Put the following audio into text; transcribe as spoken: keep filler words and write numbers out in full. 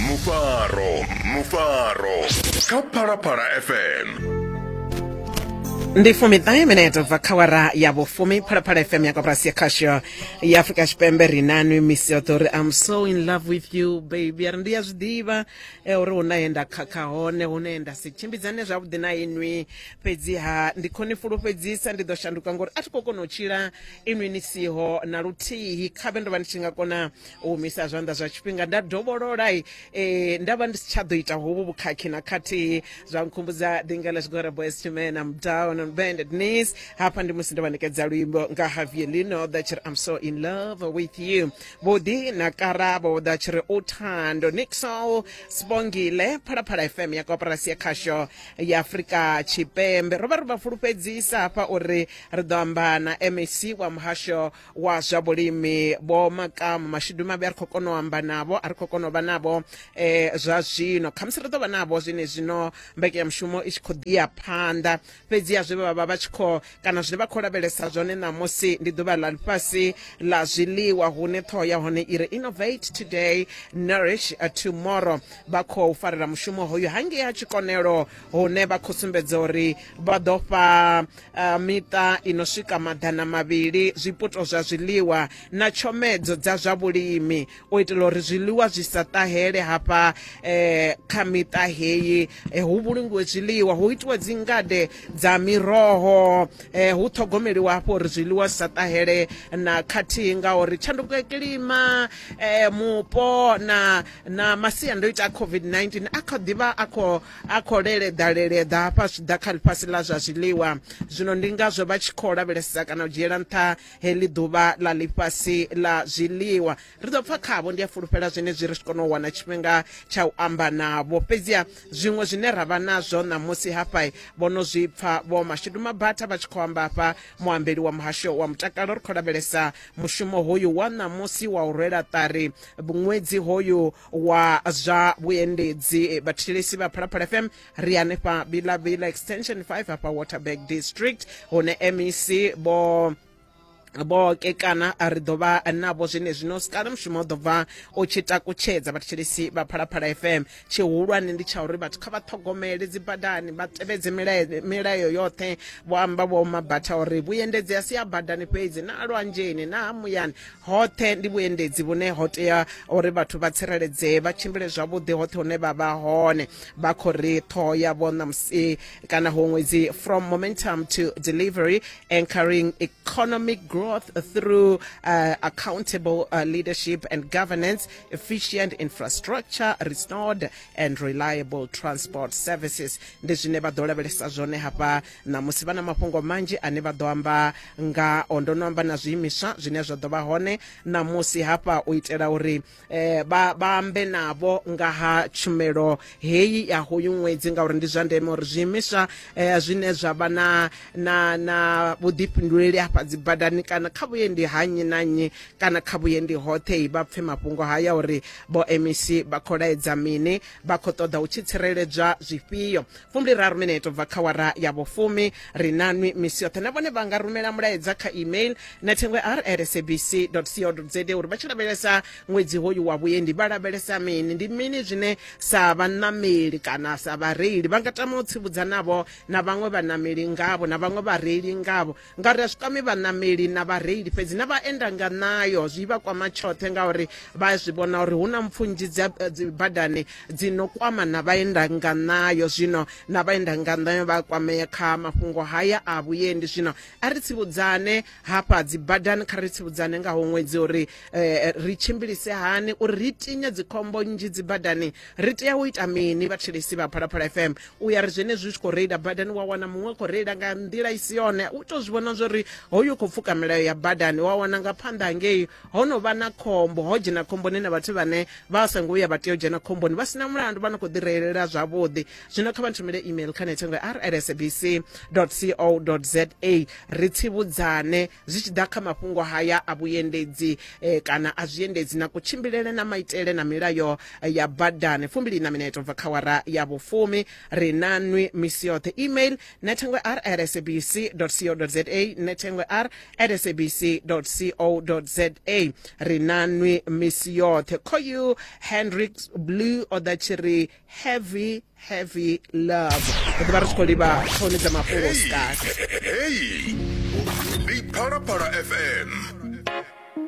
Mufaro, Mufaro kha Phalaphala F M. Ndi fumiṱahe minete ubva kha awara ya vhufumi, Phalaphala F M ya koporasi ya khasho ya Afrika Tshipembe. Ri nanwi misi yoṱhe uri I'm so in love with you baby. Ari ndi ya zwiḓivha uri huna he nda khakha hone, hune nda si tshimbidzane zwavhuḓi na inwi, fhedziha ndi khou ni fulufhedzisa ndi ḓo shanduka ngori a thi khou kona u tshila inwi ni siho na luthihi. Khavhe ndo vha ndi tshi nga kona u humisa zwanḓa zwa tshifhinga nda dovholola eh, nda vha ndi si tsha ḓo ita hovhu vhukhakhi na khathihi. Zwa nkhumbudza ḓinga ḽa Boyz two Men, I'm down on bended knees. Hafha ndi musi ndo vha ṋekedza luimbo nga Javier Lino ḓa tshiri I'm so in love with you. Vhuḓi na Karabo ḓa tshiri Uthando. Nixol Sibongile, Phalaphala F M ya koporasi ya khasho ya Afrika Tshipembe. Ro vha ri vha fulufhedzisa hafha uri ri ḓo amba na M E C wa muhasho wa zwa vhulimi Vho Makamu. Mashudu mavhi a ri khou kona u amba navho, a ri khou kona u vha navho eh, zwa zwino. Khamusi ri ḓo vha navho zwine zwino mbekanyamushumo i tshi khou ḓi ya phanḓa, fhedzi ya zwe vha vha vha tshi khou kana zwine vha khou lavhelesa zwone ṋamusi ndi ḓuvha ḽa ḽifhasi ḽa zwiḽiwa, hune ṱhoho ya hone i ri Innovate Today, Nourish Tomorrow. Vha khou farela mushumo hoyu hangei ha Tshikonelo, hune vha khou sumbedza uri vha ḓo fha uh, miṱa ino swika maḓana mavhili zwiputo zwa zwiḽiwa na tshomedzo dza zwa vhulimi u itela uri zwiḽiwa zwi sa ṱahele hafha eh, kha miṱa heyi. Eh, hu vhulungiwe zwiḽiwa, hu itiwe dzingade dza miroho, eh, hu ṱhogomeliwa hafho uri zwiḽiwa zwi sa ṱahele na khathihi, ngauri tshanduko ya kilima, eh, mupo na na masiandoitwa a COVID nineteen a kha ḓivha a khou a khou leleḓa leleḓa hafha zwi ḓa kha ḽifhasi ḽa zwa zwiḽiwa. Zwino ndi ngazwo vha tshi khou lavhelesa kana u dzhiela nṱha heḽi ḓuvha ḽa ḽifhasi ḽa zwiḽiwa. Ri ḓo pfa khavho, ndi a fulufhela zwenezwi ri tshi kona u wana tshifhinga tsha u amba navho. Fhedziha zwiṅwe zwine ra vha nazwo ṋamusi hafha vho no zwi pfa Vho Mashudu Mabatha vha tshi khou amba hafha, muambeli wa muhasho wa mutakalo. Ri khou lavhelesa mushumo hoyu wa ṋamusi wa u rwela ṱari ṅwedzi hoyu wa zwa vhuendedzi. Vhathetshelesi vha Phalaphala F M ri hanefha Bila Extension five hafha Waterberg District, hune M E C vho vho kekana ri ḓo vha navho zwine zwino sikala mushumo u ḓo bva u tshi takutshedza. Vhathetshelesi vha Phalaphala F M, tshihulwane ndi tsha uri vhathu kha vha ṱhogomele dzi badani, vha tevhedze milayo, milayo yoṱhe. Vho amba Vho Mabatha uri vhuendedzi a si a badani fhedzi, na lwanzheni na ha muyani, hoṱhe ndi vhuendedzi vhune ho tea uri vhathu vha tsireledzee, vha tshimbile zwavhuḓi hoṱhe hune vha vha hone. Vha khou ri ṱhoho yavho ṋamusi kana ho ṅwedzi from momentum to delivery, anchoring economic growth through uh, accountable uh, leadership and governance, efficient infrastructure, restored and reliable transport services. Ndi zwine vha ḓo lavhelesa zwone hafha ṋamusi. Vha na mafhungo manzhi ane vha ḓo amba nga o. Ndo no amba na zwiimiswa zwine zwa ḓo vha hone ṋamusi hafha u itela uri eh, vha vha ambe navho nga ha tshumelo heyi ya hoyu ṅwedzi, ngauri ndi zwa ndeme uri zwiimiswa eh, zwine zwa vha na na na vhuḓifhinduleli hafha dzi badani kana kha vhuendi ha nnyi na nnyi kana kha vhuendi hoṱhe vha pfe mafhungo haya uri vho M E C vha khou laedza mini, vha khou ṱoḓa u tshi tsireledzwa zwifhio. Fumbili raru minete ubva kha awara ya vhufumi. Ri nanwi misi yoṱhe, na vhone vha nga rumela mulaedza kha email nethengwe r at s a b c dot co dot z uri vha tshi lavhelesa ṅwedzi hoyu wa vhuendi vha lavhelesa mini, ndi mini zwine sa vhanameli kana sa vhareili vha nga tama u tsivhudza navho na vhaṅwe vhanameli ngavho na vhaṅwe vhareili ngavho, ngauri a zwi kwami vhanameli na vhareili fhedzi, na vhaenda nga nayo zwi vha kwama tshoṱhe, ngauri vha zwi vhona uri hu na mpfu nnzhi dza dzi badani dzi no kwama na vhaenda nga nayo. Zwino na vhaenda nga nayo vha kwamea kha mafhungo haya a vhuendi. Zwino a ri tsivhudzane hafha dzi badani, kha ri tsivhudzane nga ho ṅwedzi uri eh, ri tshimbilise hani uri ri tinye dzikhombo nnzhi dzi badani. Ri tea u ita mini vhathetshelesi vha Phalaphala F M? U ya ri zwenezwi zwi khou reila badani wa wana muṅwe khou reila nga nḓila i si yone, u to zwi vhona zwori hoyu khou pfuka milayo ya badani, wa wana nga phanḓa ngei ho no vha na khombo, ho dzhena khomboni na vhathu vhane vha songo vhuya vha tea u dzhena khomboni vha sina mulandu, vha no khou ḓi reilela zwavhuḓi. Zwino kha vha nthumele email kha nethengwe r at s a b c dot co dot z a ri tsivhudzane zwi tshi ḓa kha mafhungo haya a vhuendedzi eh, kana a zwiendedzi na kutshimbilele na maitele na milayo ya badani. Fumbili na minete ubva kha awara ya vhufumi. Ri nanwi misi yoṱhe. Email nethengwe r at s a b c dot co dot z a, nethengwe r at S A B C co za. Ri nanwi misi yoṱhe. Khoyu Hendrix Blue o ḓa tshi ri "Heavy Heavy Love". Ri ḓo vha ri tshi khou livha ṱhoni dza mafhungo sikati. Heyi ndi Phalaphala F M.